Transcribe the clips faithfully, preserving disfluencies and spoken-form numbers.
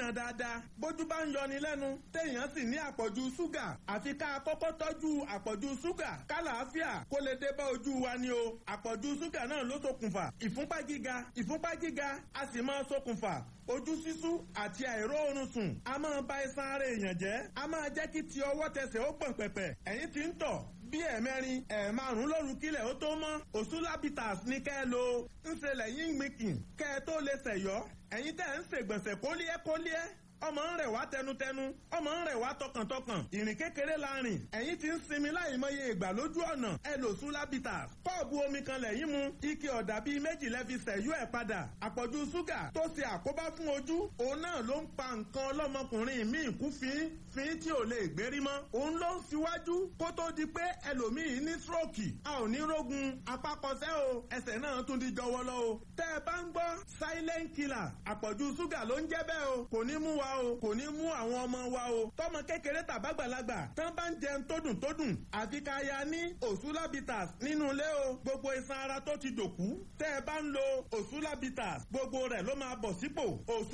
rìnà dáadáa. Bójú bá ń yọni lẹ́nu, téèyàn sì ní àpọ̀jù ṣúgà, àfi ká kọ́kọ́ tọ́jú àpọ̀jù ṣúgà kálàáfíà kó lè dé bá ojú wa ni o. Àpọ̀jù ṣúgà náà ló ṣokùnfà ìfúnpá gíga. Ìfúnpá gíga a sì máa ṣokùnfà ojú ṣíṣú àti àìróorun sùn. A máa ba iṣan ara èèyàn jẹ́, a máa jẹ́ kí ti ọwọ́ tẹsẹ̀ ó gbọ̀n pẹ̀pẹ̀. Ẹ̀yin tí ń tọ̀ bí ẹ̀mẹrin ẹ̀ẹ̀márùn lóru kílẹ̀ ó tó mọ́, Òṣùlábìtàs ní kẹ́ ẹ lo. Ń ṣe lẹ́yìn gbìnkìn kẹ́ ẹ tó lè ṣẹ̀yọ́. Ẹ̀yin tẹ́ ń ṣègbọ̀nsẹ̀ kólíẹ́ kólíẹ́, ọmọ ń rẹ̀ wá tẹnutẹnu, ọmọ ń rẹ̀ wá tọkàntọkàn, ìrìn kékeré la rìn, ẹ̀yin ti ń sinmi láì mọye ìgbà lójú ọ̀nà, ẹ lò Sùlábìtà. Kọ́ọ̀bù omi kan lẹ́yìn mu, ike ọ̀dà bíi méjì lẹ́ fi sẹ̀yú ẹ̀ padà. Àpọ̀jù ṣúgà tó ṣe àkóbá fún ojú, òun náà ló ń pa nǹkan ọlọ́mọkùnrin míì kú fín fín tí ò lè gbérí mọ́. Òun ló ń ṣíwájú kó tó di pé ẹlòmíì ní stroke. A ò ní rógun apákọsẹ́ o, ẹsẹ̀ náà tún di jọwọ́lọ́ o. Tẹ́ ẹ bá ń gbọ́ silent killer, àpọ̀jù ṣúgà ló ń jẹ́ bẹ́ẹ̀ o. Kò ní mú wa o, kò ní mú àwọn ọmọ wa o. Tọmọ kékeré tàbágbàlagbà tán bá ń jẹun tó dùn tó dùn, àfi ká ya ní Òṣùlábìtàs nínú ilé o. Gbogbo iṣan ara tó ti dòkú, tẹ́ ẹ bá ń lo Òṣùlábìtàs, gbogbo rẹ̀ ló máa bọ̀ sípò.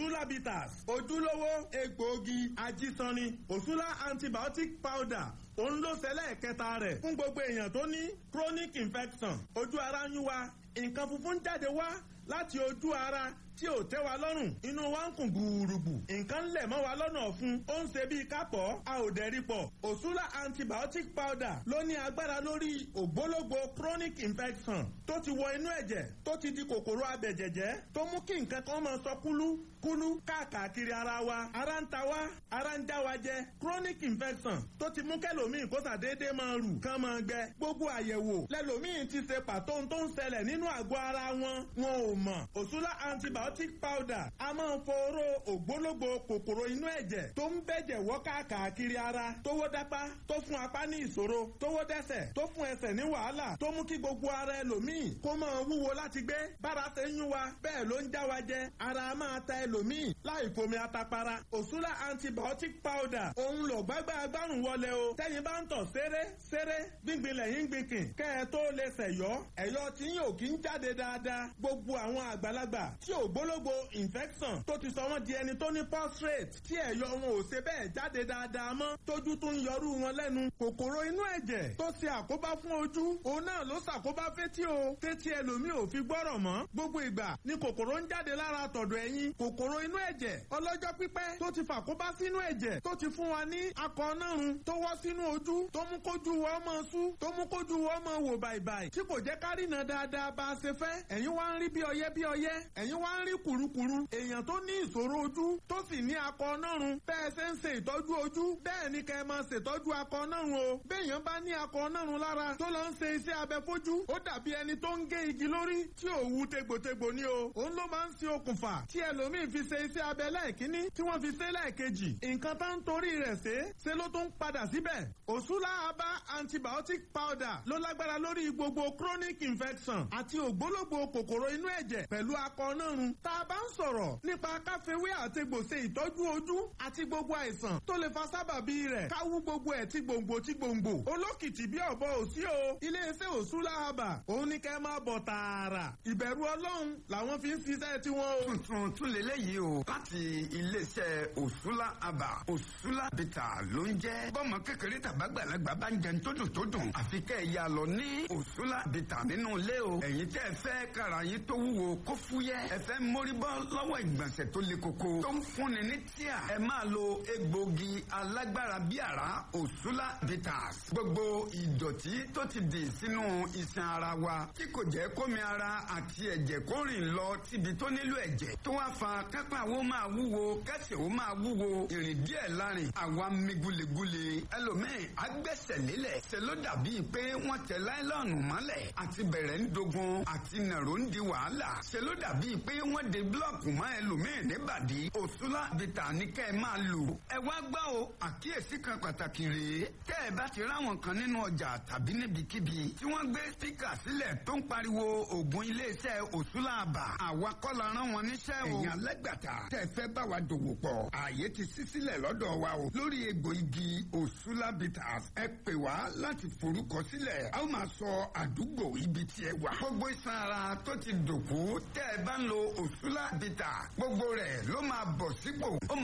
Òṣùlábìtàs, ojúlówó egbòogi ajísanni. Òṣùlá antibiotic powder, òun ló ṣẹlẹ̀ kẹta rẹ̀ fún gbogbo èèyàn tó ní chronic infection. Ojú ara ń yún wa, nǹkan funfun jáde wá láti ojú ara tí ò tẹ́ wa lọ́rùn, inú wa ń kùn gbùrùgbù, nǹkan lẹ̀ mọ́ wa lọ́nà ọ̀fun, ó ń ṣe bíi kápọ̀, a ò dẹ̀rí pọ̀. Òṣùlá antibiotic powder ló ní agbára lórí ògbólógbò chronic infection tó ti wọ inú ẹ̀jẹ̀, tó ti di kòkòrò abẹ̀jẹ̀jẹ̀, tó mú kí nǹkan kan máa sọ kúlú kúlú káàkiri ara wa. Ara ń ta wá, ara ń já wa jẹ. Chronic infection tó ti mú kẹlòmíì kó sàdédé máa rù kán máa gbẹ. Gbogbo àyẹ̀wò lẹlòmíì ti ṣe pàtó tó ń ṣẹlẹ̀ nínú àgọ́ ara wọn, wọn ò mọ̀. Òṣùlá antibiotic powder a máa ń foró ògbólógbò kòkòrò inú ẹ̀jẹ̀ tó ń bẹ̀jẹ̀ wọ́ káàkiri ara, tówó dápá tó fún apá ní ìṣòro, tówó dẹ́sẹ̀ tó fún ẹsẹ̀ ní wàhálà, tó mú kí gbogbo ara ẹlòmíì kó máa wúwo láti gbé. Bára ṣe ń yún wa bẹ́ẹ̀ ló ń já wa jẹ. Ara máa ta ẹlòmíì láì fomi atapara. Òṣùlá antibiotic powder òun lò gbágbá agbárùn wọlé o. Tẹ́yin bá ń tọ̀ séré séré, gbíngbin lẹ́yìn gbìnkìn kẹ́ ẹ tó lè ṣẹ̀yọ́, ẹ̀yọ́ tí yóò kí ń jáde dáadáa. Gbogbo àwọn àgbàlagbà tí ògbólógbò infection tó ti sọ wọ́n di ẹni tó ní prostate, tí ẹ̀yọ́ wọn ò ṣe bẹ́ẹ̀ jáde dáadáa mọ́, tójú tó ń yọrú wọn lẹ́nu. Kòkòrò inú ẹ̀jẹ̀ tó ṣe àkóbá fún ojú, òun náà ló ṣàkóbá fétí o, fétí ẹlòmíì ò fi gbọ́rọ̀ mọ́. Gbogbo ìgbà ni kòkòrò ń jáde lára tọ̀dọ̀ ẹ̀yìn. Kòkòrò inú ẹ̀jẹ̀ ọlọ́jọ́ pípẹ́ tó ti fàkóbá sínú ẹ̀jẹ̀, tó ti fún wa ní akọ nárun tó wọ́ sínú ojú, tó mú kójú wa ọmọ sú, tó mú kójú wa ọmọ wò bàìbàì, tí kò jẹ́ kárìnà dáadáa bá a ṣe fẹ́. Ẹ̀yin wá ń rí bí ọyẹ́ bí ọyẹ́, ẹ̀yin wá ń rí kùrukùru. Èèyàn tó ní ìṣòro ojú tó sì ní akọ nárun, bẹ́ẹ̀ ṣe ń ṣe ìtọ́jú ojú bẹ́ẹ̀ ni kẹ́ ẹ máa ṣètọ́jú akọ nárun o. Béèyàn bá ní akọ nárun lára tó lọ ń ṣe iṣẹ́ abẹ fojú, ó dàbí ẹni tó ń gé igi lórí tí ò wú tegbòtegbò ni o. Òun ló máa ń ṣe okùnfà tí ẹlòmíì fi ṣe iṣẹ́ abẹ lẹ́ẹ̀kínní tí wọ́n fi ṣe lẹ́ẹ̀kejì. Nǹkan tá ń torí rẹ̀ ṣe ṣe ló tún padà síbẹ̀. Òṣùlá aba antibiotic powder ló lágbára lórí gbogbo chronic infection àti ògbólógbò kòkòrò inú ẹ̀jẹ̀ pẹ̀lú akọ nárun. Tá a bá ń sọ̀rọ̀ nípa káfíwé àtegbò ṣe ìtọ́jú ojú àti gbogbo àìsàn tó lè fa sábàbí rẹ̀, káwú gbogbo ẹ̀ tí gbòǹgbò tí gbòǹgbò. Olókìtì bí ọ̀bọ òsí o. Iléeṣẹ́ Òṣùlá aba òun ní kẹ́ máa bọ̀ tààrà. Ìbẹ̀rù Ọlọ́run làwọn fi ń ṣiṣẹ́ tiwọn o. Tuntun tún lélẹ́yìí o, láti iléeṣẹ́ Òṣùlá aba. Òṣùlá bìtà ló ń jẹ́. Bọ́mọ kékeré tàbágbàlagbà bá ń jẹun tó dùn tó dùn, àfi kẹ́ ẹ̀ ya lọ ní Òṣùlá bìtà nínú ilé o. Ẹ̀yin tẹ́ ẹ fẹ́ kára yín tó wúwo kó fúyẹ́, ẹ fẹ́ mórí bọ́ lọ́wọ́ ìgbọ̀nsẹ̀ tó le koko tó ń fúnni ní tíà, ẹ máa lo egbògi alágbára bí àrá Òṣùlá bitters. Gbogbo ìdọ̀tí tó ti dì sínú iṣan ara wa tí kò jẹ́ kómi ara àti ẹ̀jẹ̀ kó rìn lọ síbi tó nílò ẹ̀jẹ̀, tó wá fa kápá wo máa wúwo, kẹsẹ̀ wo máa wúwo, ìrìn díẹ̀ lárin àwa mi gulegule. Ẹlòmíì agbẹ́sẹ̀ lélẹ̀, ṣe ló dàbí pé wọ́n tẹ láìlọ́ọ̀nù mọ́lẹ̀, àti bẹ̀rẹ̀ ń dogun, àti nàró ń di wàhálà, ṣe ló dàbí pé wọ́n de búlọ̀kù mọ́ ẹlòmíì níbàdí. Òṣùlá bìtà ní kẹ́ ẹ máa lò. Ẹ wá gbọ́ o, àkíyèsí kan pàtàkì rèé. Tẹ́ ẹ bá ti ráwọn kan nínú ọjà tàbí níbikíbi tí wọ́n gbé spíkà sílẹ̀ tó ń pariwo ògùn iléeṣẹ́ Òṣùlá àbà, àwa kọ́ la rán wọn níṣẹ́ o. Ẹ̀yin alágbàtà tẹ́ ẹ fẹ́ bá wa dòwò pọ̀, ààyè ti ṣí sílẹ̀ lọ́dọ̀ wa o. Lórí egbò igi Òṣùlá bitters, ẹ pè wá láti forúkọ sílẹ̀. A ó máa sọ àdúgbò ibi tí ẹ wà. Gbogbo iṣan ara tó ti dòkú, tẹ́ ẹ bá ń lo Òṣùlá bitters, gbogbo rẹ̀ ló máa bọ̀ sípò. Ó máa